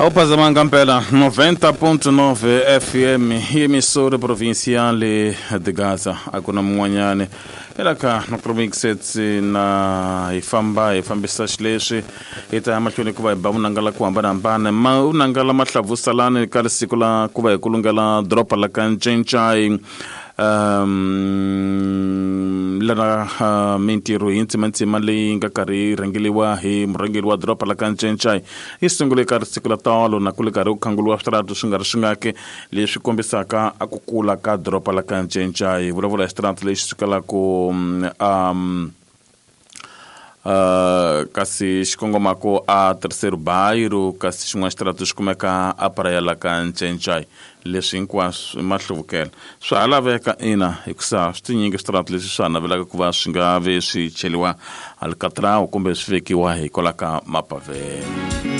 Awuphazamanga mpela 90.9 FM emissora provincial de Gaza a ku na mun'wanyani ela ka Nocromixets na hi famba hi fambisa xileswi hi ta ya mahlweni ku va hi ba vunanga la ku hambanahambana ma vunanga la mahlavusalani ka siku la ku va hi kulungela doroba la ka Ncencai um lana mintirho hi ntsimantsima leyi nga karhi yi rhangeliwa hi murhangeri wa doroba la ka Ncencai yi sungule ka siku la tolo na ku le karhi ku khanguriwa switaratu swi nga ri swingaki leswi kombisaka a ku kula ka doroba la ka Ncencai vulavula hi xitaratu lexi sukelaku um kasi xi kongomako a Terceiro Bairro kasi xin'wana xitaratu xi kumeka a Praia la ka Ncencai leswi hinkwaswo i mahluvukelo swa ha laveka ina hikusa swi tinyingi switaratu leswi swa ha navelaka ku va swi nga ve swi cheliwa alcatrão kumbe swi vekiwa hikwalaho ka mapavhelo.